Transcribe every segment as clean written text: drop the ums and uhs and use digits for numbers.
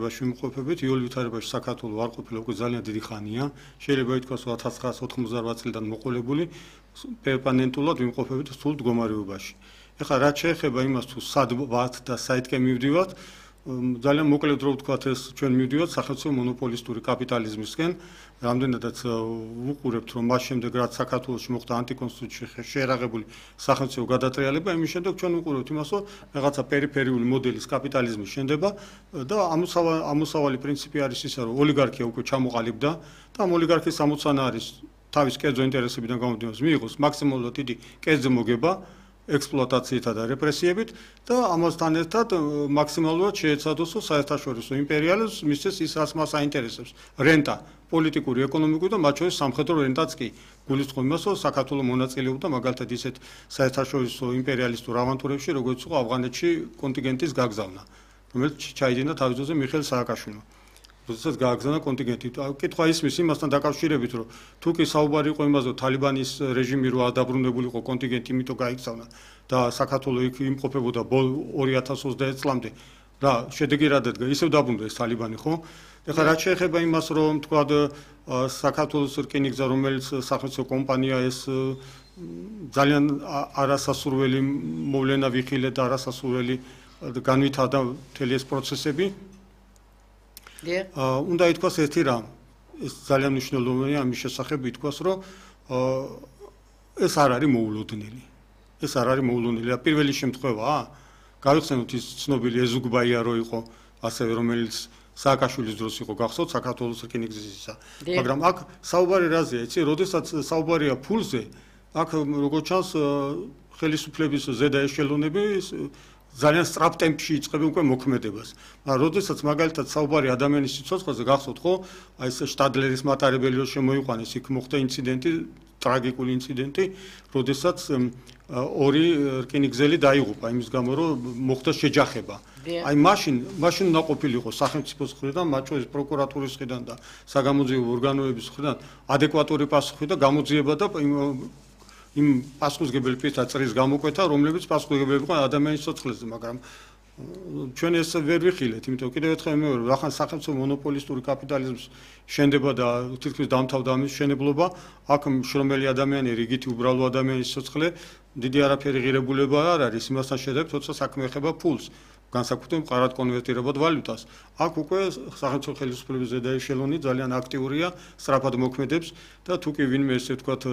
Შემოყოფებით იოლი ვითარებაში საქართველოს არ ყოფილა უკვე ძალიან დიდი ხანია. შეიძლება ითქვას, რომ 1998 წლიდან მოყოლებული პერმანენტულად ვიმყოფებით სულ მდგომარეობაში. ეხლა რაც შეეხება იმას, თუ სად ვართ და საითკენ მივდივართ, ძალიან მოკლედ რო ვთქვათ, ეს ჩვენ მივდივართ სახელმწიფო მონოპოლისტური კაპიტალიზმისკენ. რამდენადაც ვუყურებთ, რომ მას შემდეგ რაც საქართველოში მოხდა ანტიკონსტიტუციური შეერაღებული სახელმწიფო გადატრიალება, იმის შემდეგ ჩვენ ვუყურებთ იმას, რომ რაღაცა პერიფერიული მოდელის კაპიტალიზმის შენდება და ამოსავალი პრინციპი არის ისა, რომ ოლიგარქია უკვე ჩამოყალიბდა და ამ ოლიგარქიის ამოცანა არის თავის კერძო ინტერესებიდან გამომდინარე მიიღოს მაქსიმალურად დიდი კერძო მოგება ექსპლუატაციითა და რეპრესიებით და ამასთან ერთად მაქსიმალურად შეეცადოს საერთაშორისო იმპერიალიზმს მისცეს ის რაც მას აინტერესებს რენტა პოლიტიკური ეკონომიკური და მათ შორის სამხედრო რენტაც კი გულისხმობს იმას რომ საქართველოს მონაწილეობდა მაგალითად ისეთ საერთაშორისო იმპერიალისტურ ავანტურებში როგორც იყო ავღანეთში კონტინგენტის გაგზავნა რომელიც ჩაიდინა თავის დროზე მიხეილ სააკაშვილმა როდესაც გააგზავნა კონტინგენტი. კითხვა ისმის იმასთან დაკავშირებით, რომ თუ კი საუბარი იყო იმაზე, რომ თალიბანის რეჟიმი რო ადაბრუნებული იყო კონტინგენტი, იმიტომ გაიგზავნა და საქართველოს იქ იმყოფებოდა 2020 წლამდე და შედეგი რა დადგა, ისევ დაბრუნდა ეს თალიბანი, ხო? ეხლა რაც შეეხება იმას, რომ თქვა საქართველოს რკინიგზა, რომელიც სახელმწიფო კომპანია ეს ძალიან არასასურველი მოვლენა ვიხილეთ და არასასურველი განვითარდა მთელი ეს პროცესები. უნდა ითქვას ერთი რამ, ეს ძალიან მნიშვნელოვანია ამის შესახებ ითქვას, რომ ეს არ არის მოულოდნელი. ეს არ არის მოულოდნელი. პირველი შემთხვევაა, გავიხსენოთ ის ცნობილი ეზუგბაია რო იყო, ასევე რომელიც სააკაშვილის დროს იყო გახსოვთ საქართველოს რკინიგზისა. მაგრამ აქ საუბარი რაზეა, იცი, როდესაც საუბარია ფულზე, აქ როგორც ჩანს ხელისუფლების ზედა ეშელონები ძალიან სწრაფ ტემპში იწყებენ უკვე მოქმედებას. მაგრამ როდესაც მაგალითად საუბარი ადამიანის სიცოცხლეზე გახსოვთ ხო, აი ეს შტადლერის მატარებელი რო შემოიყვანეს, იქ მოხდა ინციდენტი, ტრაგიკული ინციდენტი, როდესაც ორი რკინიგზელი დაიღუპა იმის გამო, რომ მოხდა შეჯახება. აი მაშინ უნდა ყოფილიყო სახელმწიფოს მხრიდან, მათ შორის პროკურატურის მხრიდან და საგამოძიებო ორგანოების მხრიდან ადეკვატური პასუხი და გამოძიება და იმ პასუხისმგებელი პირთა წრის გამოკვეთა, რომლებიც პასუხისმგებელი იყო ადამიანის სიცოცხლეზე, მაგრამ ჩვენ ეს ვერ ვიხილეთ, იმიტომ კიდევ ერთხელ მეორე, ახლა სახელმწიფო მონოპოლისტური კაპიტალიზმის შენდება და თითქმის დამთავრდა ამის შენებლობა, აქ შრომელი ადამიანი, რიგითი უბრალო ადამიანის სიცოცხლე, დიდი არაფერი ღირებულება არ არის, იმასთან შედარებით, როცა საქმე ეხება ფულს, განსაკუთრებით მყარად კონვერტირებად ვალუტას. აქ უკვე სახელმწიფო ხელისუფლების ზედა ეშელონი ძალიან აქტიურია, სწრაფად მოქმედებს და თუ კი ვინმე ესე ვთქვათ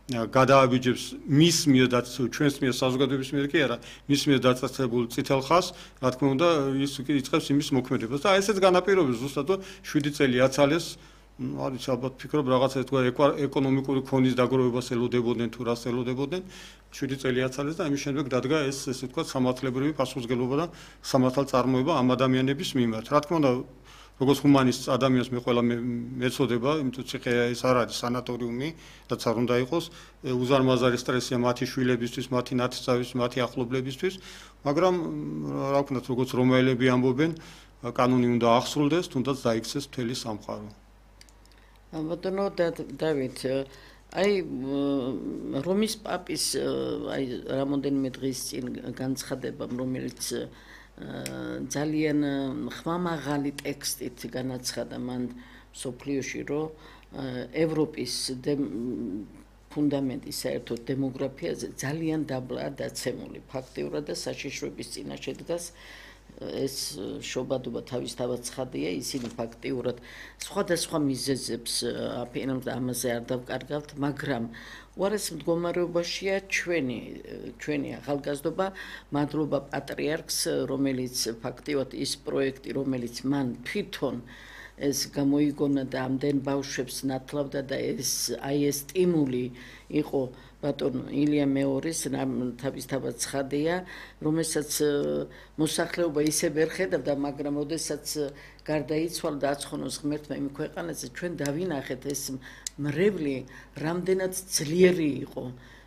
გადააბიჯებს მის მიერ და ჩვენს მიერ საზოგადოების მიერ კი არა, მის მიერ დაწესებულ წითელ ხაზს, რა თქმა უნდა, ის იწყებს იმის მოქმედებას და ესეც განაპირობებს ზუსტად, რომ 7 წელი აცალეს, არის ალბათ ფიქრობ რაღაცა თქვა ეკონომიკური ქონის დაგროვებას ელოდებოდნენ თუ რას ელოდებოდნენ, 7 წელი აცალეს და ამის შემდეგ დადგა ეს ესე ვთქვა სამართლებრივი პასუხისმგებლობა და სამართალწარმოება ამ ადამიანების მიმართ. რა თქმა უნდა როგორც ჰუმანისტ ადამიანს მე ყველა მეწოდება, იმიტომ ციხე ეს არ არის სანატორიუმი, რაც არ უნდა იყოს, უზარმაზარი სტრესია მათი შვილებისთვის, მათი ნათესავების, მათი ახლობლებისთვის, მაგრამ რა ვქნათ, როგორც რომაელები ამბობენ, კანონი უნდა აღსრულდეს, თუნდაც დაიქცეს მთელი სამყარო. ბატონო დავით, აი რომის პაპის აი რამოდენიმე დღის წინ განცხადებამ, რომელიც ძალიან ხმამაღალი ტექსტით განაცხადა მან სოფლიოში, რომ ევროპის ფუნდამენტი საერთოდ დემოგრაფიაზე ძალიან დაბლაა დაცემული ფაქტიურად და საშიშროების წინაშე დგას ეს შობადობა თავისთავად ცხადია, ისინი ფაქტიურად სხვადასხვა მიზეზებს აფინებენ და ამაზე არ დავკარგავთ, მაგრამ უარეს მდგომარეობაშია ჩვენი ახალგაზრდობა, მადლობა პატრიარქს, რომელიც ფაქტიურად ის პროექტი, რომელიც მან თვითონ ეს გამოიგონა და ამდენ ბავშვებს ნათლავდა და ეს სტიმული იყო ბატონ ილია მეორის თავისთავად ცხადია, რომელსაც მოსახლეობა ისე ვერ ხედავდა, მაგრამ როდესაც გარდაიცვალა და აცხონოს ღმერთმა იმ ქვეყანაზე, ჩვენ დავინახეთ ეს მრევლი რამდენად ძლიერი იყო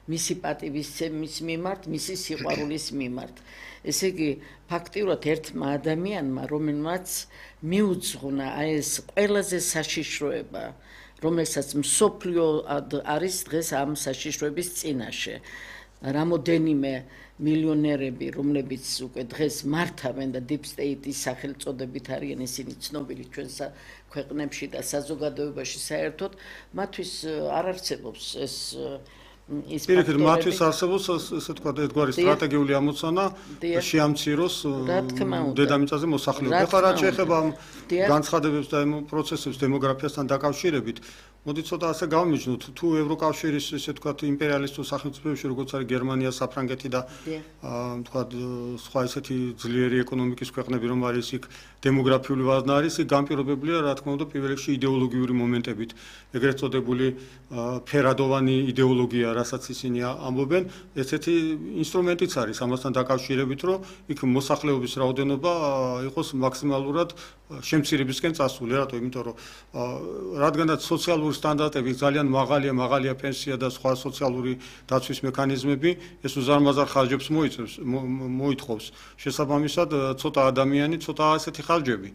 მისი პატივისცემის მიმართ, მისი სიყვარულის მიმართ. ესე იგი, ფაქტიურად ერთმა ადამიანმა, რომელმაც მიუძღვნა ეს ყველაზე საშიშროება, რომელსაც მსოფლიო არის დღეს ამ საშიშროების წინაშე. რამოდენიმე მილიონერები, რომლებიც უკვე დღეს მართავენ და deep state-ის სახელწოდებით არიან ისინი ცნობილი ჩვენ ქვეყნებში და საზოგადოებაში საერთოდ, მათთვის არ არსებობს ეს პირიქით, მათთვის არსებობს ესე თქვა ერთგვარი სტრატეგიული ამოცანა შეამციროს დედამიწაზე მოსახლეობა. ეხლა რაც შეეხება განცხადებებს და პროცესებს დემოგრაფიასთან დაკავშირებით, მოდი ცოტა ასე გავმიჯნოთ, თუ ევროკავშირის ესე თქვა იმპერიალისტურ სახელმწიფოებში, როგორც არის გერმანია, საფრანგეთი და თქვა სხვა ესეთი ძლიერი ეკონომიკის ქვეყნები, რომ არის იქ დემოგრაფიული ვაზნა არის, იქ განპირობებულია, რა თქმა უნდა, პირველ რიგში იდეოლოგიური მომენტებით, ეგრეთ წოდებული ფერადოვანი იდეოლოგია, რასაც ისინი ამბობენ, ესეთი ინსტრუმენტიც არის ამასთან დაკავშირებით, რომ იქ მოსახლეობის რაოდენობა იყოს მაქსიმალურად შემცირებისკენ წასული, რატო? იმიტომ რომ რადგანაც სოციალური სტანდარტები ძალიან მაღალია პენსია და სხვა სოციალური დაცვის მექანიზმები, ეს უზარმაზარ ხარჯებს მოითხოვს. შესაბამისად, ცოტა ადამიანი, ცოტა ასეთი ხარჯები.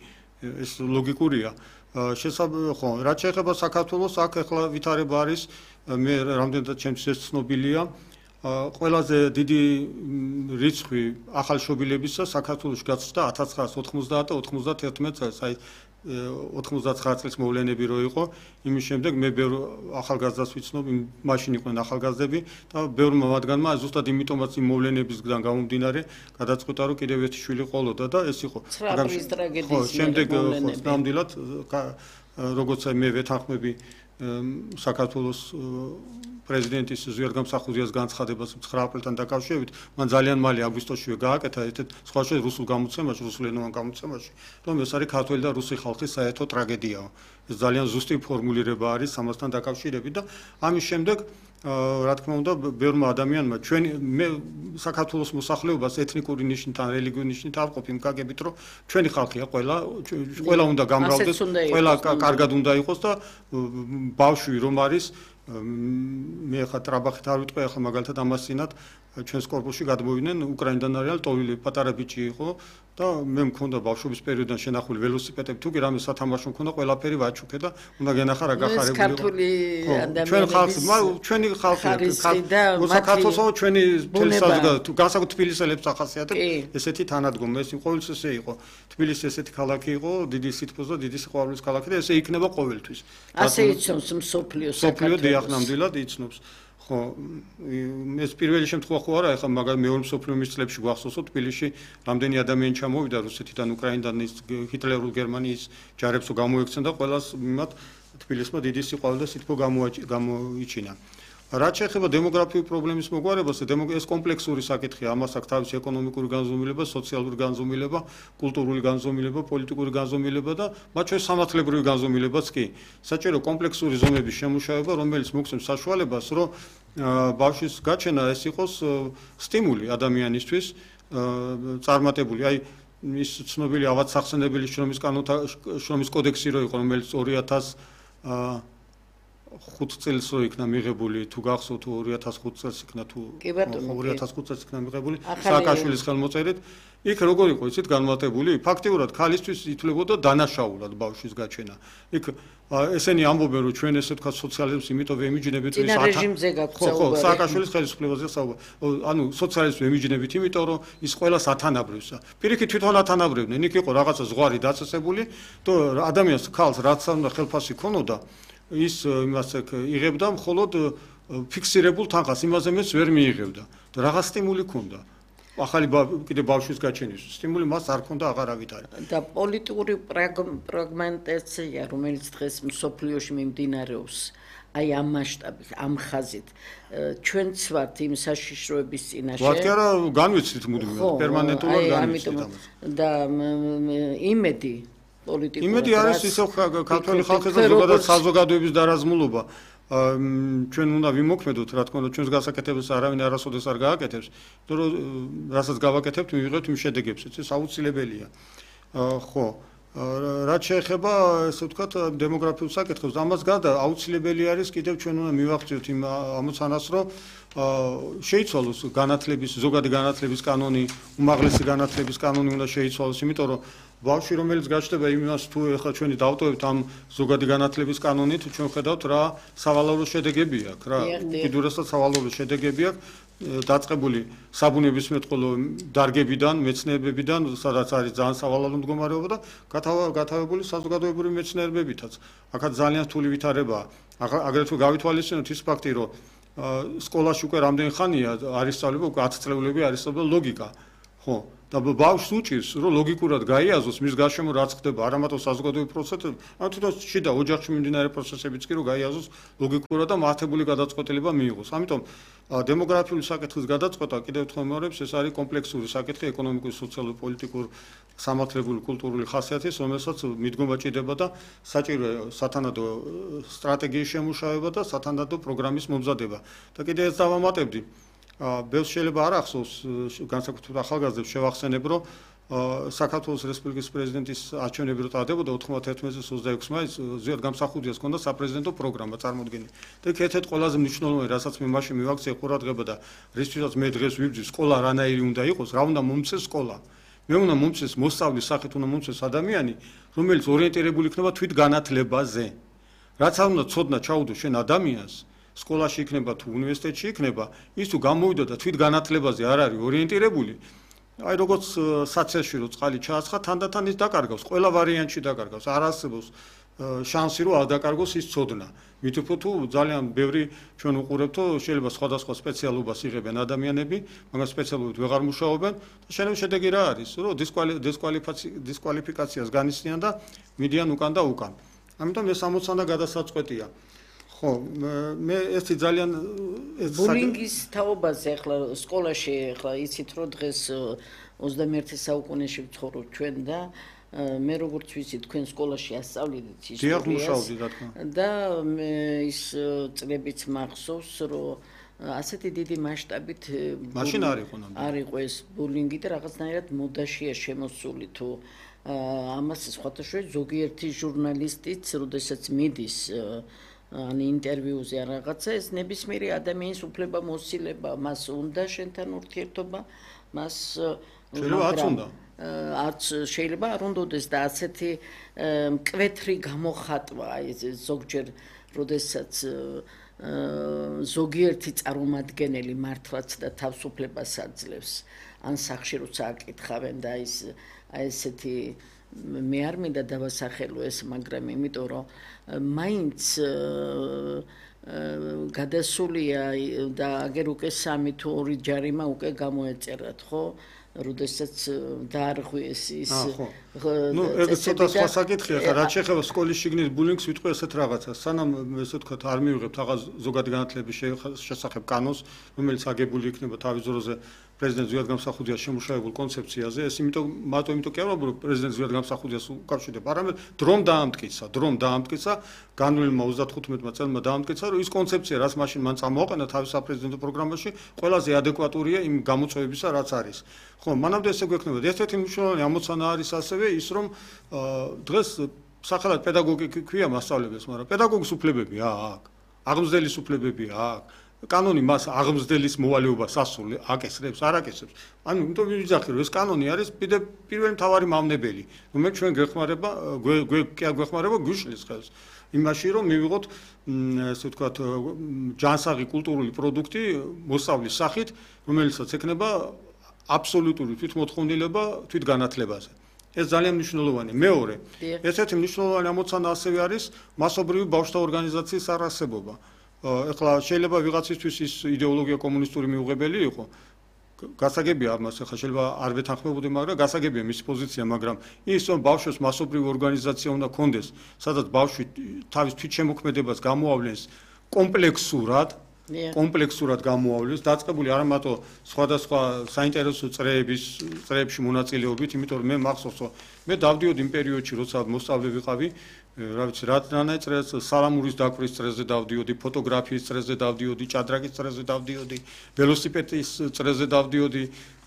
ეს ლოგიკურია. ხო, რაც შეეხება საქართველოს, აქ ახლა ვითარება არის, მე რამდენადაც ჩემთვის ცნობილია, ყველაზე დიდი რიცხვი ახალშობილებისა საქართველოში გაცდა 1990 და 91 წელს, აი 99 წლის მოვლენები რო იყო, იმის შემდეგ მე ბევრ ახალგაზრდას ვიცნობ, მაშინ იყვნენ ახალგაზრდები და ბევრმა მათგანმა ზუსტად იმიტომაც იმ მოვლენებისგან გამომდინარე, გადაწყვიტა რომ კიდევ ერთი შვილი ყოლოდა და ეს იყო. ხო, შემდეგ ნამდვილად როგორც მე ვეთანხმები საქართველოს პრეზიდენტის ზვიადგამსახურდიას განცხადებას 9 აპრილთან დაკავშირებით, მან ძალიან მალე აგვისტოშივე გააკეთა ერთ სხვა რუსულ გამოცემაში, რუსულენოვან გამოცემაში, რომ ეს არის ქართველი და რუსი ხალხის საერთო ტრაგედიაა. ეს ძალიან ზუსტი ფორმულირება არის ამასთან დაკავშირებით და ამის შემდეგ რა თქმა უნდა, ბევრმა ადამიანმა მე საქართველოს მოსახლეობას ეთნიკური ნიშნით ან რელიგიური ნიშნით ავყოფ იმ გაგებით, რომ ჩვენი ხალხია ყველა უნდა გამრავლდეს, ყველა კარგად უნდა იყოს და ბავშვი რომ არის მე ხა ტრაბახით არ ვიტყვი, ახლა მაგალითად ამასინად ჩვენს კორპუსში გადმოვიდნენ უკრაინიდან არის ტოვილი პატარა ბიჭი იყო და მე მქონდა ბავშვობის პერიოდიდან შენახული ველოსიპედები, თუ კი რამე სათამაშო მქონდა, ყველაფერი ვაჩუქე და უნდა გენახა რა გახარებული იყო. ჩვენ ხალხი, ჩვენი ხალხი, საქართველოს ჩვენი თელესაზოგადო, განსაკუთრებით თბილისელებს ახასიათებ ესეთი თანადგომა, ეს ყოველთვის ესე იყო. თბილისი ესეთი ქალაქი იყო, დიდი სითბოს და დიდი სიყვარულის ქალაქი და ესე იქნება ყოველთვის. ასე იცნობს მსოფლიო საქართველოს. დიახ, ნამდვილად იცნობს. ხო, ეს პირველი შემთხვევა ხო არა, ეხლა მაგალითად მეორე მსოფლიო ომის წლებში გვახსოვსო თბილისში რამდენი ადამიანი ჩამოვიდა რუსეთიდან, უკრაინიდან ჰიტლერულ გერმანიის ჯარებს გამოექცენ და ყველას მიმად თბილისმა დიდი სიყვარული და სითბო გამოიჩინა. რაც შეეხება დემოგრაფიული პრობლემის მოგვარებას, ეს კომპლექსური საკითხია, ამას აქვს თავისი ეკონომიკური განზომილება, სოციალური განზომილება, კულტურული განზომილება, პოლიტიკური განზომილება და მათ შორის სამართლებრივი განზომილებაც კი. საჭირო კომპლექსური ზომების შემუშავება, რომელიც მოგცემს საშუალებას, რომ ბავშვის გაჩენა ეს იყოს სტიმული ადამიანისთვის, წარმატებული. აი ის ცნობილი ავადსახსენებელი შრომის კოდექსი რო იყო, რომელიც 2005 წელს რო იქნა მიღებული, თუ გახსოვთ 2005 წელს იქნა თუ 2005 წელს იქნა მიღებული სააკაშვილის ხელმოწერით, იქ როგორ იყო იცით განმარტებული, ფაქტიურად ქალისთვის ითვლებოდა დანაშაულად ბავშვის გაჩენა. იქ ესენი ამბობენ რომ ჩვენ ესე თქვა სოციალიზმს იმიტომ ვემიჯნებით ის რეჟიმზე გაქვთ საუბარი. სააკაშვილის ხელისუფლებაზე საუბარი. ანუ სოციალიზმს ვემიჯნებით იმიტომ რომ ის ყველას ათანაბრევსა. პირიქით თვითონ ათანაბრევდნენ, იქ იყო რაღაცა ზღვარი დაწესებული და ადამიანს ქალს რაც უნდა ხელფასი ქონოდა ის იმას იღებდა მხოლოდ ფიქსირებულ თანხას, იმაზე მეც ვერ მიიღებდა და რაღაც სტიმული ქონდა. ახალი კიდე ბავშვის გაჩენის სტიმული მას არ ქონდა აღარავითარი. და პოლიტიკური პრაგმენტაცია, რომელიც დღეს მსოფლიოში მიმდინარეობს, აი ამ მასშტაბით, ამ ხაზით, ჩვენც ვართ იმ საშიშროების წინაშე. ვართ კი არა, განვიცდით მუდმივად, პერმანენტულად განვიცდით ამას. და იმედი პოლიტიკური იმედი არის ისევ ქართველი ხალხის და ზოგადად საზოგადოების დარაზმულობა. ჩვენ უნდა ვიმოქმედოთ, რა თქმა უნდა, ჩვენს გასაკეთებას არავინ არასოდეს არ გააკეთებს, იმიტომ რომ რასაც გავაკეთებთ, მივიღებთ იმ შედეგებს, ეს აუცილებელია. ხო, რაც შეეხება, ესე ვთქვათ, დემოგრაფიულ საკითხებს, ამას გარდა აუცილებელი არის კიდევ ჩვენ უნდა მივახციოთ იმ ამოცანას, რომ შეიცვალოს განათლების, ზოგადი განათლების კანონი, უმაღლესი განათლების კანონი უნდა შეიცვალოს, იმიტომ რომ ბავშვი რომელიც გაჩნდება იმას თუ ეხლა ჩვენი დავტოვებთ ამ ზოგადი განათლების კანონით, ჩვენ ხედავთ რა სავალალო შედეგები აქვს, რა უკიდურესად სავალალო შედეგები აქვს დაწყებული საბუნებისმეტყველო დარგებიდან, მეცნიერებებიდან, სადაც არის ძალიან სავალალო მდგომარეობა და გათავებული საზოგადოებრივი მეცნიერებებითაც. აქაც ძალიან რთული ვითარებაა. აგრეთვე გავითვალისწინოთ ის ფაქტი, რომ სკოლაში უკვე რამდენი ხანია არის სწავლება, უკვე 10 წლეულები არის სწავლება ლოგიკა. ხო, და ბავშვს უჭირს, რომ ლოგიკურად გაიაზროს მის გარშემო რაც ხდება, არა მარტო საზოგადოებრივი პროცესები, არამედ თვითონ შიდა ოჯახში მიმდინარე პროცესებიც კი რომ გაიაზროს ლოგიკურად და მართებული გადაწყვეტილება მიიღოს. ამიტომ დემოგრაფიული საკითხის გადაწყვეტა კიდევ ერთხელ მეორებს, ეს არის კომპლექსური საკითხი, ეკონომიკური, სოციალური, პოლიტიკური, სამართლებრივი, კულტურული ხასიათის, რომელსაც მიდგომა ჭირდება და საჭიროა სათანადო სტრატეგიის შემუშავება და სათანადო პროგრამის მომზადება. და კიდევ ეს დავამატებდი. ბევრს შეიძლება არ ახსოვს განსაკუთრებით ახალგაზრდებს შევახსენებ, რომ საქართველოს რესპუბლიკის პრეზიდენტის არჩევნები რო ტარდებოდა 91 წლის 26 მაისს ზიად გამსახურდიას ჰქონდა საპრეზიდენტო პროგრამა წარმოდგენილი. და ერთ-ერთი ყველაზე მნიშვნელოვანი, რასაც მე მაშინ მივაქციე ყურადღება და რისთვისაც მე დღეს ვიბრძვის, სკოლა რანაირი უნდა იყოს, რა უნდა მომცეს სკოლა. მე უნდა მომცეს მოსწავლის სახით უნდა მომცეს ადამიანი, რომელიც ორიენტირებული იქნება თვით განათლებაზე. რაც არ უნდა ცოდნა ჩაუდო შენ ადამიანს სკოლაში იქნება თუ უნივერსიტეტში იქნება, ის თუ გამოვიდა და თვით განათლებაზე არ არის ორიენტირებული, აი როგორც საცეში რო წყალი ჩააცხა, თანდათან ის დაკარგავს, ყველა ვარიანტში დაკარგავს, არ არსებობს შანსი რომ არ დაკარგოს ის ცოდნა. მით უფრო თუ ძალიან ბევრი ჩვენ უყურებთ, შეიძლება სხვადასხვა სპეციალობას იღებენ ადამიანები, მაგრამ სპეციალობით ვეღარ მუშაობენ და შედეგი რა არის, რომ დისკვალიფიკაციას განიცდიან და მიდიან უკან და უკან. ამიტომ ეს ამოცანა გადასაწყვეტია. ხო, მე ესეთი ძალიან ბულინგის თაობაზე ახლა სკოლაში ახლა იცით რომ დღეს 21 საუკუნეში ვცხოვრობ ჩვენ და მე როგორც ვიცი თქვენ სკოლაში ასწავლიდით ისტორიას და ის წლებიც მახსოვს რომ ასეთი დიდი მასშტაბით მაშინ არ იყო ეს ბულინგი და რაღაცნაირად მოდაშია შემოსული თუ ამას სხვადასხვა ზოგიერთი ჟურნალისტიც როდესაც მიდის ან ინტერვიუზე ან რაღაცა ეს ნებისმიერი ადამიანის უფლება მოსილება მას უნდა შენთან ურთიერთობა მას შეიძლება არ უნდადეს და ასეთი მკვეთრი გამოხატვა ეს ზოგჯერ როდესაც ზოგიერთი წარმომადგენელი მართლაც და თავისუფლებას აძლევს ან სახში როცა აკითხავენ და ესეთი მე არ მინდა დავასახელო ეს მაგრამ იმიტომ რომ მაინც გადასულია და აგერ უკვე 3 თუ 2 ჯარიმა უკვე გამოეწერათ ხო როდესაც დაარღვიეს ის ნუ ეს ცოტა სხვა საკითხია ხა რაც შეეხება სკოლის შიგნით ბულინგს ვიტყვი ესეთ რაღაცას სანამ ესე ვთქვათ არ მივიღებთ რაღაც ზოგადი განათლების შესახებ კანონს რომელიც აგებული იქნება თავის დროზე პრეზიდენტ ზვიად გამსახურდიას შემუშავებულ კონცეფციაზე ეს მარტო იმიტომ კი არ ვამბობ პრეზიდენტ ზვიად გამსახურდიას უკავშირდება არამედ დრომ დაამტკიცა განვლილმა 35 წელმა დაამტკიცა რომ ის კონცეფცია რაც მაშინ მან წამოაყენა თავის საპრეზიდენტო პროგრამაში ყველაზე ადეკვატურია იმ გამოწვევებისა რაც არის ხო მანამდე ესე გვექნება ერთ-ერთი მნიშვნელოვანი ამოცანა არის ასევე ის რომ დღეს სახელად პედაგოგი ქვია მასწავლებელს მაგრამ პედაგოგის უფლებები აქვს აღმზრდელის უფლებები აქვს კანონი მას აღმზრდელის მოვალეობას ასრულებს, აკესრებს, არ აკესრებს. ანუ იმიტომ ვიძახი რომ ეს კანონი არის პირველი მთავარი მავნებელი. რომ ჩვენ გვეხმარება, გვეხმარება გვიშლის ხელს. იმაში რომ მივიღოთ ესე ვთქვათ ჯანსაღი კულტურული პროდუქტი მოსწავლის სახით, რომელსაც ექნება აბსოლუტური თვითმოთხოვნილება თვითგანათლებაზე. ეს ძალიან მნიშვნელოვანია. მეორე, ესეთი მნიშვნელოვანი ამოცანა ასევე არის მასობრივი ბავშვთა ორგანიზაციის არარსებობა. ეხლა შეიძლება ვიღაცისთვის ის იდეოლოგია კომუნისტური მიუღებელი იყო. გასაგებია ამას ეხლა შეიძლება არ ვეთანხმებოდი, მაგრამ გასაგებია მისი პოზიცია, მაგრამ ის რომ ბავშვებს მასობრივი ორგანიზაცია უნდა კონდეს, სადაც ბავშვი თავის თვითშემოქმედებას გამოავლენს კომპლექსურად გამოავლენს, დაწყებული არა მარტო სხვადასხვა საინტერესო წრეებში მონაწილეობით, იმიტომ რომ მე მახსოვს, რომ მე დავდიოდი იმ პერიოდში, როცა მოსწავლე ვიყავი, რა ვიცი, რანაირ წრეს სალამურის დაკვრის წრეზე დავდიოდი, ფოტოგრაფიის წრეზე დავდიოდი, ჭადრაკის წრეზე დავდიოდი, ველოსიპედის წრეზე დავდიოდი,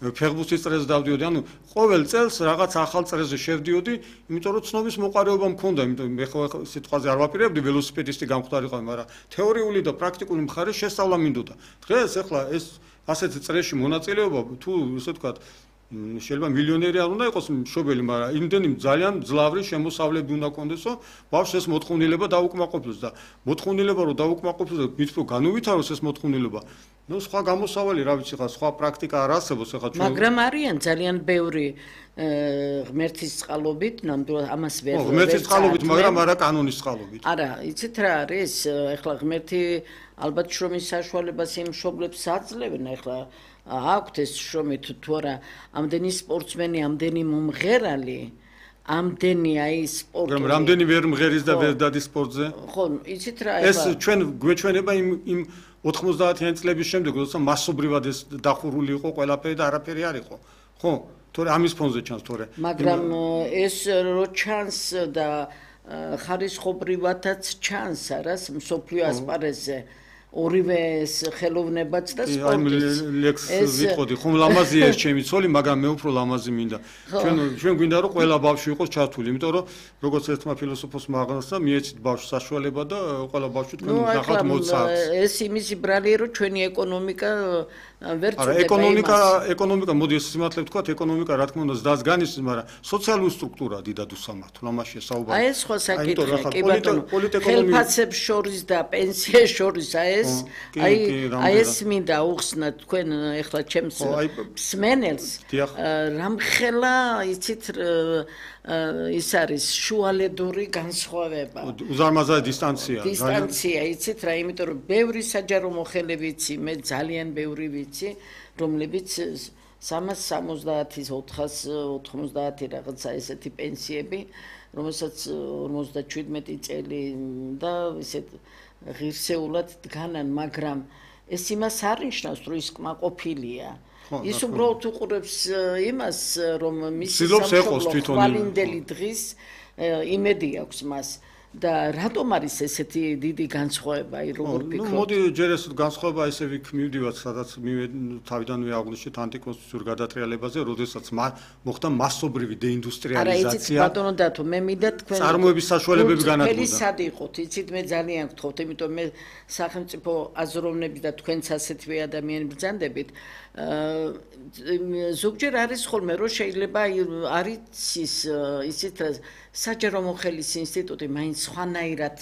ფეხბურთის წრეზე დავდიოდი, ანუ ყოველ წელს რაღაც ახალ წრეზე შევდიოდი, იმიტომ რომ ცნობის მოყარეობა მქონდა, იმიტომ მე ხო სიტყვაზე არ ვაპირებდი ველოსიპედისტი გამხდარიყავი, მაგრამ თეორიული და პრაქტიკული მხარე შესწავლა მინდოდა. დღეს ეხლა ეს ასეთი წრეში მონაწილეობა თუ ესე ვთქვათ შეიძლება მილიონერი არ უნდა იყოს მშობელი, მაგრამ იმდენი ძალიან ძლავრი შემოსავლები უნდა კონდეს, რომ ბავშვს ეს მოთხოვნილება დაუკმაყოფილოს და მოთხოვნილება რომ დაუკმაყოფილოს და მით უფრო განუვითაროს ეს მოთხოვნილება, ნუ სხვა გამოსავალი რა ვიცი ხა სხვა პრაქტიკა არ არსებობს ეხლა ჩვენ მაგრამ არიან ძალიან ბევრი ღმერთის წყალობით, ნამდვილად ამას ვერ ღმერთის წყალობით, მაგრამ არა კანონის წყალობით. არა, იცით რა არის? ეხლა ღმერთი ალბათ შრომის საშუალებას იმ მშობლებს აძლევენ, ეხლა აქვთ ეს შრომით თუ არა, ამდენი სპორტსმენი, ამდენი მომღერალი, ამდენი აი სპორტი. მაგრამ რამდენი ვერ მღერის და ვერ დადის სპორტზე? ხო, იცით რა ეს ჩვენ გვეჩვენება იმ 90-იანი წლების შემდეგ, როცა მასობრივად ეს დახურული იყო ყველაფერი და არაფერი არ იყო. ხო? თორე ამის ფონზე ჩანს თორე. მაგრამ ეს რო ჩანს და ხარისხობრივადაც ჩანს, არას მსოფლიო ასპარეზზე. ორივე ხელოვნებაც და სპორტიც. ლექს ვიტყოდი, ხომ ლამაზია ეს ჩემი ცოლი, მაგრამ მე უფრო ლამაზი მინდა. ჩვენ გვინდა რომ ყველა ბავშვი იყოს ჩართული, იმიტომ რომ როგორც ერთმა ფილოსოფოსმა აღნიშნა, მიეცით ბავშვს საშუალება და ყველა ბავშვი თქვენ ნახავთ მოცარდს. ეს იმის ბრალია რომ ჩვენი ეკონომიკა ვერ წუდება. არა, ეკონომიკა, მოდი ეს სიმართლე ვთქვათ, ეკონომიკა რა თქმა უნდა ზდას განისმის, მაგრამ სოციალური სტრუქტურა დიდად უსამართლო, ამაშია საუბარი. აი ეს სხვა საკითხია, კი ბატონო. ხელფასებს შორის და პენსიებს შორის აი ეს მინდა უხსნათ თქვენ ეხლა ჩემს მსმენელს რამხელა იცით ის არის შუალედური განსხვავება. უზარმაზარი დისტანცია, იცით რა, იმიტომ რომ ბევრი საჯარო მოხელე ვიცი, მე ძალიან ბევრი ვიცი, რომლებიც 370-ის 490 რაღაცა ესეთი პენსიები, რომელსაც 57 წელი და ისეთ ღირსეულად დგანან, მაგრამ ეს იმას არ ნიშნავს, რომ ის კმაყოფილია. ის უბრალოდ უყურებს იმას, რომ მისი სამშობლო ხვალინდელი დღის იმედი აქვს მას. და რატომ არის ესეთი დიდი განსხვავება, აი როგორ ფიქრობთ? მოდი ჯერ ეს განსხვავება ესე ვიქ მივდივართ, სადაც თავიდანვე აღვნიშნეთ ანტიკონსტიტუციურ გადატრიალებაზე, როდესაც მოხდა მასობრივი დეინდუსტრიალიზაცია. არა, იცით ბატონო დათო, მე მინდა თქვენ წარმოების საშუალებები განადგურდა. სად იყოთ, იცით მე ძალიან გთხოვთ, იმიტომ მე სახელმწიფო აზროვნები და თქვენც ასეთვე ადამიანი ბრძანდებით. ზოგჯერ არის ხოლმე რომ შეიძლება არის ისეთ საჯარო მოხელის ინსტიტუტი მაინც სხვანაირად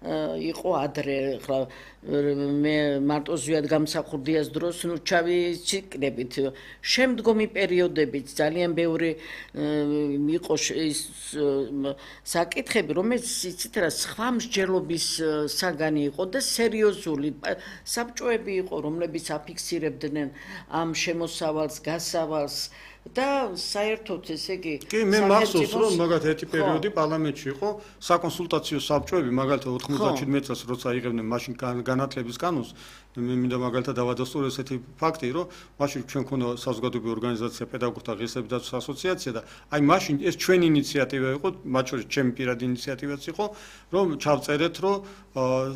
იყო ადრე, ხლა მე მარტო ზვიად გამსახურდიას დროს ნუ ჩავიჩიკნებით. შემდგომი პერიოდებიც ძალიან ბევრი იყო ის საკითხები, რომელიც იცით რა, სხვა მსჯელობის საგანი იყო და სერიოზული საბჭოები იყო, რომლებიც აფიქსირებდნენ ამ შემოსავალს, გასავალს და საერთოდ ესე იგი კი მე მახსოვს რომ მაგათ ერთი პერიოდი პარლამენტში იყო საკონსულტაციო საბჭოები მაგალითად 97 წელს როცა იღებდნენ მაშინ განათლების კანონს მე მინდა მაგალითად დავადასტურო ესეთი ფაქტი რომ მაშინ ჩვენ ქონდა საზოგადოებრივი ორგანიზაცია პედაგოგთა ღირსების ასოციაცია და აი მაშინ ეს ჩვენი ინიციატივა იყო მათ შორის ჩემი პირადი ინიციატივაც იყო რომ ჩავწერეთ რომ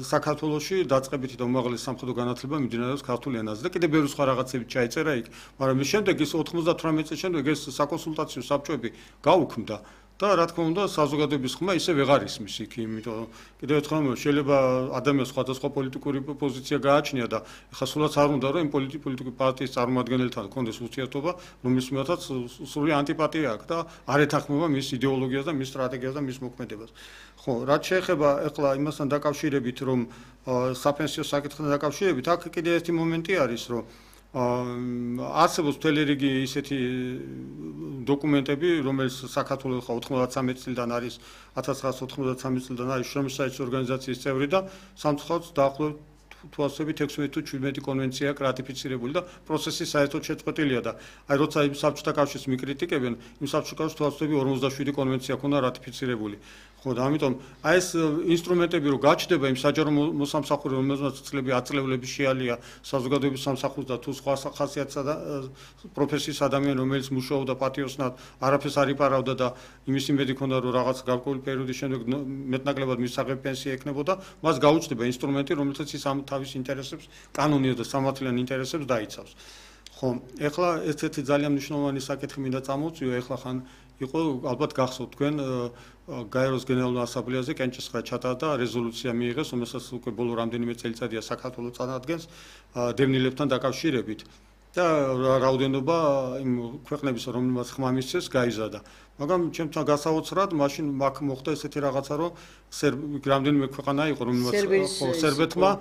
საქართველოში დაწყებითი და უმაღლესი სამხედრო განათლება მიმდინარეობს ქართულ ენაზე და კიდევ ბევრი სხვა რაღაცები ჩაიწერა იქ მაგრამ მის შემდეგ ის 98 წელს შემდეგ ეს საკონსულტაციო საბჭოები გაუქმდა და რა თქმა უნდა საზოგადოების ხმა ისე ვეღარ ისმის იქ იმიტომ რომ კიდევ ერთხელ შეიძლება ადამიანს სხვადასხვა პოლიტიკური პოზიცია გააჩნია და ეხლა სულაც არ უნდა რომ იმ პოლიტიკური პარტიის წარმომადგენელთან კონდეს ურთიერთობა რომლის მიხედვაც სრული ანტიპატია აქვს და არ ეთანხმება მის იდეოლოგიას და მის სტრატეგიას და მის მოქმედებას ხო რაც შეეხება ეხლა იმასთან დაკავშირებით რომ საფენსიო საკითხთან დაკავშირებით აქ კიდევ ერთი მომენტი არის რომ არსებობს მთელი რიგი ისეთი დოკუმენტები, რომელიც საქართველოს 93 წლიდან არის 1993 წლიდან არის შრომის საერთო ორგანიზაციის წევრი და სამწუხაროდ დაახლოებით თუ ასებით 16 თუ 17 კონვენცია რატიფიცირებული და პროცესი საერთოდ შეწყვეტილია და აი როცა იმ საბჭოთა კავშირს მიკრიტიკებენ, იმ საბჭოთა კავშირს თუ ასებით 47 კონვენცია ქონდა რატიფიცირებული. ხო და ამიტომ აი ეს ინსტრუმენტები რო გაჩნდება იმ საჯარო მოსამსახურე რომელსაც წლები აწლევლები შეალია საზოგადოების სამსახურს და თუ სხვა ხასიათსა და პროფესიის ადამიანი რომელიც მუშაობდა პატიოსნად არაფერს არ იპარავდა და იმის იმედი ქონდა რომ რაღაც გარკვეული პერიოდის შემდეგ მეტნაკლებად მისაღები პენსია ექნებოდა მას გაუჩნდება ინსტრუმენტი რომელსაც ის ამ თავის ინტერესებს კანონიერ და სამართლიან ინტერესებს დაიცავს ხო ეხლა ერთ-ერთი ძალიან მნიშვნელოვანი საკითხი მინდა წამოვწიო ეხლა ხან იყო ალბათ გახსოვთ თქვენ გაეროს გენერალურ ასამბლეაზე კენჭისყრა ჩატარდა რეზოლუცია მიიღეს რომელსაც უკვე ბოლო რამდენიმე წელიწადია საქართველოს წარადგენს დევნილებთან დაკავშირებით და რაოდენობა იმ ქვეყნების რომელმაც ხმა მისცეს გაიზარდა მაგრამ ჩემთან გასაოცრად მაშინ მაგ მოხდა ესეთი რაღაცა რომ რამდენიმე ქვეყანა იყო რომელმაც სერბეთმა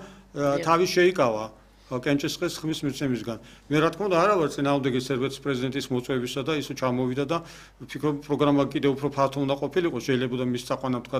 თავი შეიკავა კენჭისყრის ხმის მიცემისგან. მე რა თქმა უნდა არა ვარ წინააღმდეგი სერბეთის პრეზიდენტის მოწვევისა და ისო ჩამოვიდა და ვფიქრობ პროგრამა კიდევ უფრო ფართო უნდა ყოფილიყო, შეიძლება და მის წაყვანა თქვა